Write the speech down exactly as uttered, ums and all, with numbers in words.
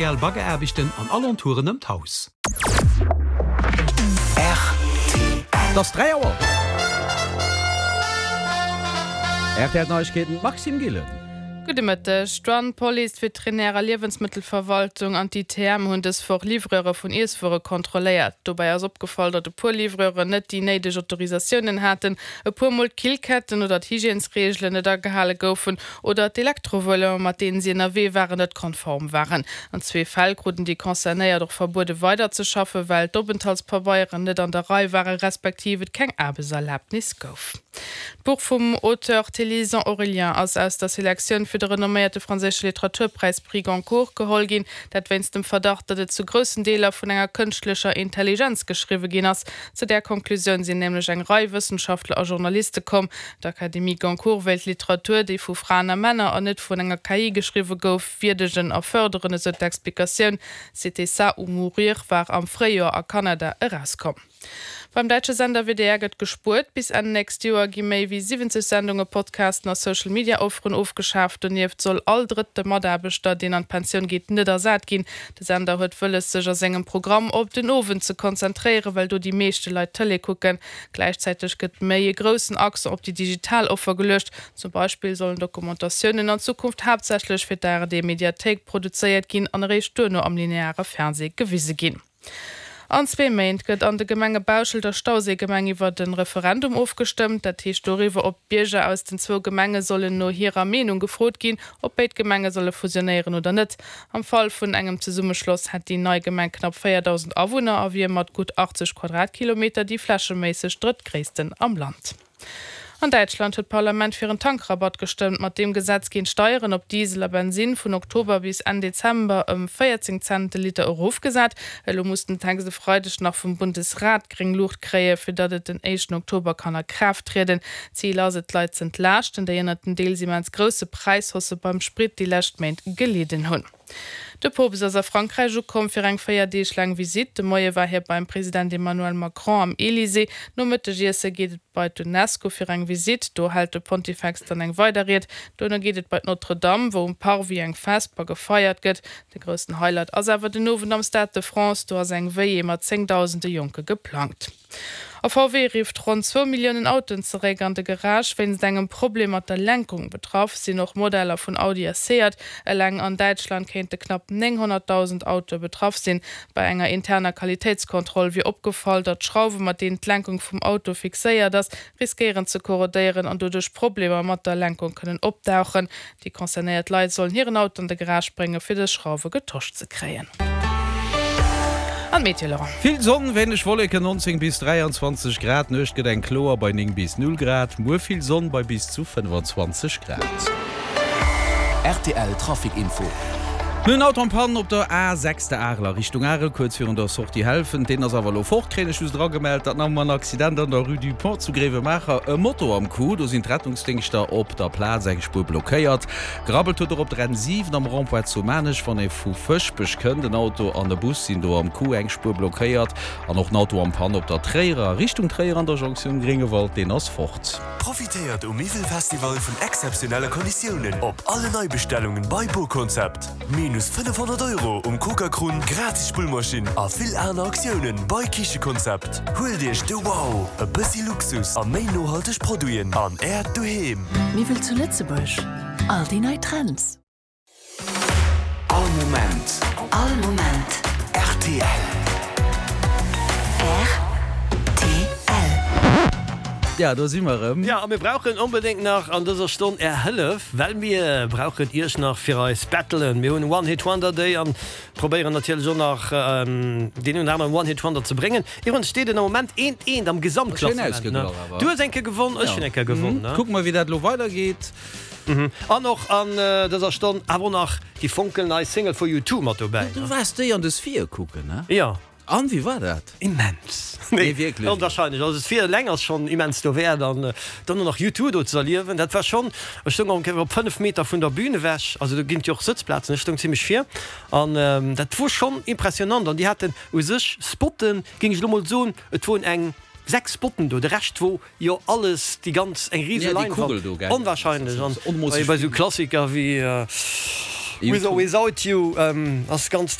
Baggeraarbechten an Alentouren ëm d'Haus. Et ass dräi Auer. R T L Neiegkeeten, Maxime Gillen. Gudde Mëtteg. D'Douane, d'Police, d'Veterinär a Liewensmëttelverwaltung an d'I T M hunn dës Woch Livreure vun Iesswuere kontrolléiert. Dobäi ass opgefall, datt e puer Livreuren net déi néideg Autorisatiounen haten, e puer Mol d'Killketten oder d'Hygiènesreegelen net agehale goufen oder d'Elektrovéloen, mat deenen si ënnerwee waren, net konform waren. An zwee Fäll kruten déi Concernéiert och verbuede weiderzeschaffen, well d'Openthaltspabeieren net an der Rei waren, respektiv et keng Aarbechtserlabnis gouf. D'Buch vum Auteur Télisant Aurélien ass aus der Selektioun fir de renomméierte franséische Literaturpräis Prix Goncourt geholl ginn, dat wéinst dem Verdacht, datt et zu groussen Deeler vun enger kënschtlecher Intelligenz geschriwwe ginn ass. Zu där Konklusioun sinn nämlech eng Rei Wëssenschaftler a Journaliste komm. D'Académie Goncourt wéilt Literatur, déi vu Fraen a Männer an net vun enger K I geschriwwe gouf, wierdegen a fërderen, esou d'Explikatioun. C'était ça ou mourir war am Fréijoer a Kanada erauskomm. Beim däitsche Sender W D R gëtt gespuert. Bis Enn nächst Joer gi méi wéi siwwenzeg Sendunge, Podcasten a Social-Media-Offeren ofgeschaaft. Donieft soll all drëtte Mataarbechter, deen an d'Pensioun geet, net ersat ginn. De Sender huet wëlles, sech a sengem Programm op den Owend ze konzentréieren, well do déi meeschte Leit Tëlee kucken. Gläichzäiteg gëtt méi e groussen Accent op déi digital Offer geluecht. Zum Beispill sollen Dokumentatiounen an Zukunft haaptsächlech fir d'A R D-Mediathéik produzéiert ginn an eréischt duerno am lineare Fernsee gewise ginn. An zwee Méint gëtt an de Gemenge Bauschelt a Stauséigemeng iwwer de Referendum ofgestëmmt. Dat heescht doriwwer, ob d'Bierger aus den zwou Gemenge sollen no hirer Meenung gefrot ginn, ob béid Gemenge solle fusionéieren oder net. Am Fall vun engem Zesummeschloss hätt déi nei Gemeng knapp véierdausend Awunner a wier mat gutt achtzeg Quadratkilometer déi flächeméisseg drëttgréissten am Land. An Däitschland huet d'Parlament fir en Tankrabatt gestëmmt. Mat deem Gesetz ginn d'Steieren op Diesel a Bensin vun Oktober bis Enn Dezember ëm véierzéng Cent de Liter erofgesat. Elo muss den Text e Freideg nach vum Bundesrat gréng Luucht kréien, fir datt et den éischten Oktober kann a Kraaft trieden. Zil ass et, d'Leit z'entlaaschten, déi ënnert den deels immens grousse Präishaussë beim Sprit déi lescht Méint gelidden hunn. De Poopst ass a Frankräich ukomm fir eng véier Deeg laang Visitt. De Moie war hie beim President Emmanuel Macron am Elysée. Nom Mëttegiesse geet et bei d'UNESCO fir eng Visitt. Do hält de Pontifex dann eng weider Ried. Duerno geet et bei d'Notre-Dame, wou um Parvis eng Vesper gefeiert gëtt. De groussen Highlight ass awer den Owend am Stade de France. Do ass eng Veillée mat zéngdausende Jonke geplangt. A V W rifft ronn zwou Milliounen Autoen zeréck an de Garage wéinst engem Problem mat der Lenkung. Betraff sinn och Modeller vun Audi a Seat. Eleng an Däitschland kéinte knapp nénghonnertdausend Autoe betraff sinn. Bei enger interner Qualitéitskontroll wier opgefall, datt d'Schrauwe mat deenen d'Lenkung vum Auto fixéiert ass, riskéieren ze korrodéieren an doduerch Problemer mat der Lenkung kënnen opdauchen. Déi concernéiert Leit sollen hiren Auto an de Garage bréngen, fir dës Schrauwe getosch ze kréien. An Meteo, Laurent. Vill Sonn, wéineg Wolleken, nonzéng bis dräianzwanzeg Grad. D'Nuecht gëtt eng kloer bei néng bis null Grad. Muer vill Sonn bei bis zu fënnfanzwanzeg Grad. R T L Trafic Info. En Auto en panne op der A sechs der Arel a Richtung Arel, kuerz virun der Sortie Helfent. Deen ass awer elo fort, kréien ech just eragemellt. Dat nach emol en Accident an der Rue du Pont zu Gréiwemaacher. E Moto am Coup, do sinn d'Rettungsdéngschter op der Plaz, eng Spuer blockéiert. Gerabbelt huet och op der N siwen am Rond-point zu Maarnech, wann ee vu Fëschbech kënnt. En Auto an e Bus sinn do am Coup, eng Spuer blockéiert. An och en Auto en panne op der Tréierer, Richtung Tréier an der Jonktioun Gréngewald, deen ass fort. Profitéiert um Miwwelfestival vun exzeptionelle Konditiounen op alle Neibestellungen bei BoConcept. Minus fënnefhonnert Euro um Coca-Krunn, gratis Spullmaschinn a vill aner Aktiounen bei Kichekonzept. Huelt Iech de Wow, e bëssi Luxus a méi nohalteg Produiten an Äert Doheem. Miwwel zu Lëtzebuerg, all déi nei Trends. All Moment. All Moment. R T L. R T L. Ja, do si mer erëm. Ja, a mir brauchen onbedéngt nach an dëser Stonn är Hëllef, well mir brauchen iech nach fir eis Battlen. Mir hunn One Hit Wonder Day an probéieren natierlech och nach deen een oder aneren One Hit Wonder ze bréngen. Iwwregens steet et am Moment eent eent am Schéin Gesamtklassement. ausgeglach awer. Du hues eng Kéier gewonn, ech hunn eng Kéier gewonn. Mhm. Kucke mer, wéi dat elo weidergeet. Mhm. An och an dëser Stonn awer och nach déi fonkelnei Single vu U two mat dobäi. Du waars déi an de Sphere kucken, ne? Jo. An wéi war dat? Immens. Nee, wierklech. Onwahrscheinlech. Also d'Sphere eleng ass schonn immens dowäert an dann och nach U two do ze erliewen, dat war schonn, ech stoung och op fënnef Meter vun der Bühn ewech, also do ginn et jo och Sëtzplazen, ech stoung zimmlech vir an dat wor schonn impressionant an déi haten u sech Spotten, géing ech elo mol soen, et woren eng sechs Spotten do, de Rescht wor jo alles déi ganz eng rise Ja, déi Leinwand. Kugel do, gell? Onwahrscheinlech an Onmoosseg bei esou vill. Klassiker wéi With or Without You ass ganz